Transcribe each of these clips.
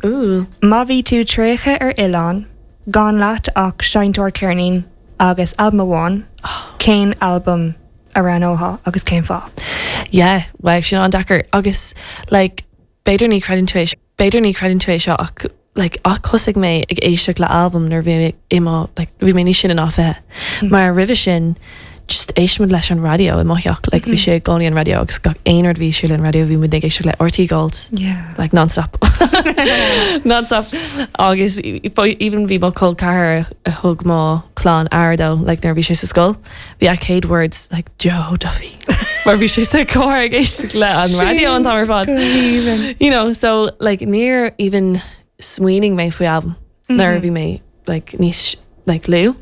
Ooh. Má bhí tú traochta ar oileán, gan leat ach seinnteoir ceirnín agus albam amháin, cén albam a roghnófá agus cén fáth? Yeah, wow, sin an-deacair. Agus like, b'fhéidir ní chreideann tú é, b'fhéidir ní chreideann tú é seo ach like, ach thosaigh mé ag éisteacht le albam nuair bhí mé i mo, like, bhí mé níos sine ná 20. Mar roimhe sin, just éistimid leis an raidió i mo theach, like, bhí sé i gcónaí an raidió agus gach aon rud a bhí ar siúl ar an raidió bhí muid ag éisteacht le RTÉ Gold. Yeah. Like non-stop. Non-stop. Agus even bhí mo chol ceathar a thug mo chlann aire dó, like nuair a bhí sé sa scoil, bhí a chéad words like Joe Duffy. Mar bhí sé sa carr ag éisteacht le an raidió an t-am ar fad. You know, so like níor even smaoinigh mé faoi albam nuair a bhí mé like níos like lú.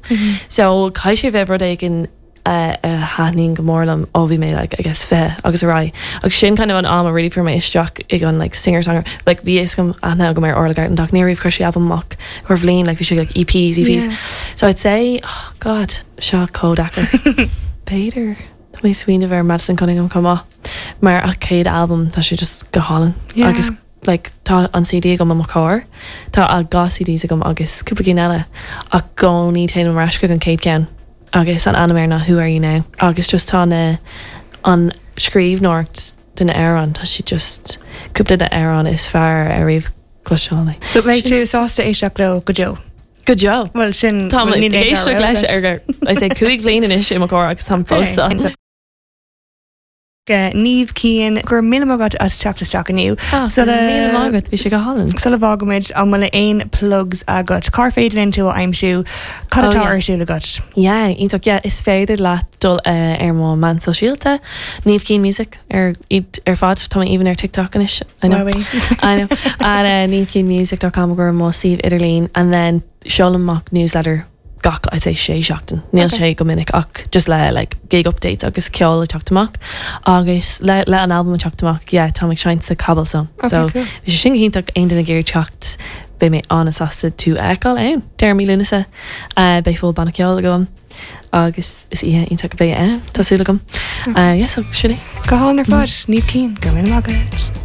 So caithfidh sé bheith rud éigin a thaitníonn go mór liom ó bhí mé like I guess 20 agus ar aghaidh. Agus sin kind of an am a really fuair mé isteach ag an like singer songwriter like bhí fhios agam aithne agam ar Orla Gartland ach níor riamh chuir sí albam amach ar bhliain like bhí sé like EPs EPs. Yeah. So I'd say oh god seo chomh deacair. B'fhéidir tá mé ag smaoineamh ar Madison Cunningham chomh maith mar a céad albam tá sé just go hálainn Yeah. agus like tá an CD agam i mo charr, tá a dhá CDs agam agus cúpla cinn eile ach i gcónaí téim ar ais chuig an chéad cheann agus an ainm air ná Who Are You Now agus just tá na an scríbhneoireacht de na amhráin tá siad just cúpla de na amhráin is fearr ar riamh cloisteáil like. So beidh tú sásta éisteacht leo go deo? Go deo. Bhuel sin Táim níl ag aon éisteacht dara leis rogha ar I say 5 bhliain anois i mo charr agus táim fós Okay. sásta. Niamh Keane, go raibh míle maith agat as teacht isteach inniu. Ah, go raibh míle maith agat, bhí sé go hálainn. Sula bhfágaimid, an bhfuil aon plugs agat? Cár féidir linn tú a aimsiú? Cad Oh, atá yeah. ar siúl agat? Yeah, iontach, yeah, is féidir leat dul ar mo meán sóisialta, Niamh Keane Music ar iad ar fad, tá mé even ar TikTok anois, I know. Wowie. I know. And niamhkeanemusic.com ar mo suíomh idirlín and then seolaim amach newsletter gach I'd say sé seachtain. Níl sé go minic ach just le like gig updates agus ceol ag teacht amach agus le le an album ag teacht amach yeah táim ag seinnt sa Cobblestone. Okay, So cool. bhí sé sin go hiontach aon duine ag iarraidh teacht beidh mé an-sásta tú a fheiceáil ann. Deireadh mí Lúnasa uh, beidh full banna ceoil agam agus is oíche iontach a bheidh ann tá súil agam. Uh, yeah, so sin é. Go hálainn ar fad, Niamh Keane, go raibh míle maith agat.